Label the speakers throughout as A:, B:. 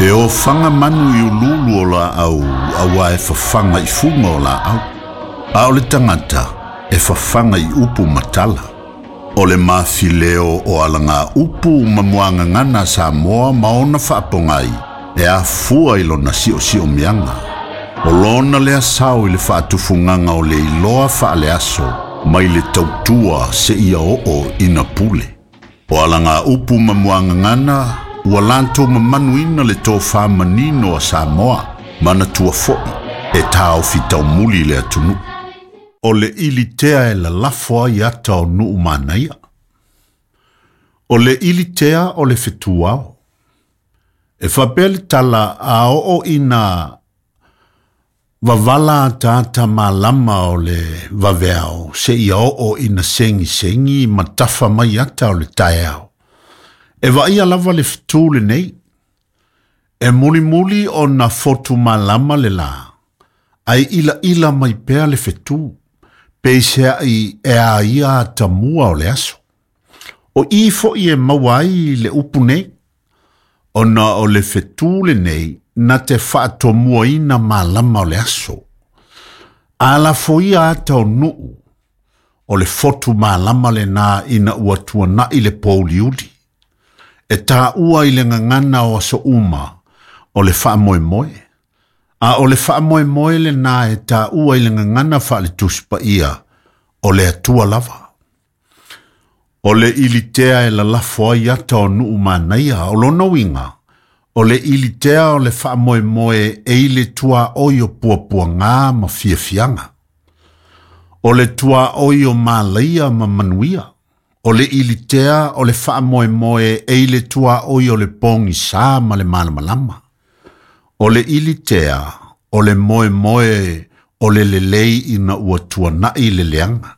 A: E ofaga manu i uluulu o laau auā e fafaga i fuga o laau, a o le tagata e fafaga i upu ma tala. O le mafileo o alagaupu ma muagagana a Samoa ma ona faapogai e afua i lona siosiomiaga. O lona lea sao i le faatufugaga o le iloa faaleaso mai le tautua seia oo ina pule. O alagaupu ma muagagana ua latou mamanuina le tofa manino a Samoa, manatua foi e taofi taumuli le atunuu. O le ilitea e lalafo ai ata o nuu manaia. O le ilitea o le fetuao. E faapea le tala a oo ina Vavala ataata malama o le vaveao seia oo ina segisegi ma tafa mai ata o le taeao. E vaaia lava le fetu lenei. E mulimuli ona fotu malama le lā, ae ilaila mai pea le fetu, peiseai e a ia atamua o le aso. O i foi e maua ai le upu nei, ona o le fetu lenei na te faatomuaina malama o le aso. A lafoia ata o nuu, o le fotu malama lena ina ua tuanai le pouliuli. E taua i le gagana o aso uma o le faamoemoe. A o le faamoemoe lena e taua i le gagana faale-Tusi Paia o le Atua lava. O le ilitea e lalafo ai ata o nuu manaia, o lona uiga, o le ilitea o le faamoemoe e i le tuaoi o puapuaga ma fiafiaga. O le tuaoi o malaia ma manuia. O le ilitea o le faamoemoe e i le tuaoi o le pogisā ma le malamalama. O le ilitea o le moemoe o le lelei ina ua tuanai le leaga.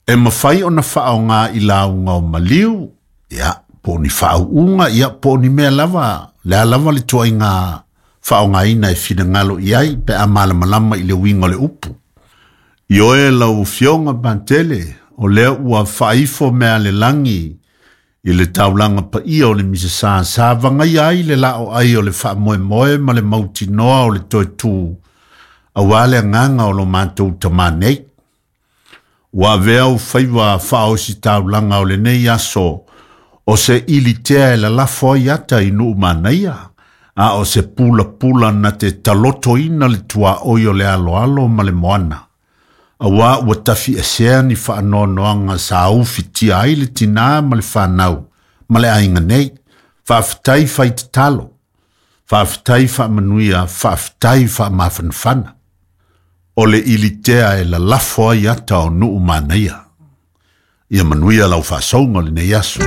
A: E mafai ona faaaoga i lauga o maliu, ia, po o ni faauuga, ia, po o ni mea lava, le a lava le tuaiga faaaogaina e finagalo i ai pe a malamalama i le uiga o le upu. Ioe lau Afioga Patele, o lea ua faaifo mea a le lagi i le taulaga paia o le Misasa sa vagaia ai le laoai o le faamoemoe ma le mautinoa o le toe tu aua le agaga o lo matou tamā nei. Ua avea ou faiva faaositaulaga o lenei aso o se ilitea e lalafo ai ata i nuu manaia, a o se pulapula na te talotoina le tuaoi o le aloalo ma le moana, auā ua tafiesea ni faanoanoaga sa ufitia ai le tinā ma le fanau ma le aiga nei. Faafetai fai tatalo, faafetai faamanuia, faafetai faamafanafana. O le ilitea e lalafo ai ata o nuu manaia. Ia manuia lau faasouga o lenei aso.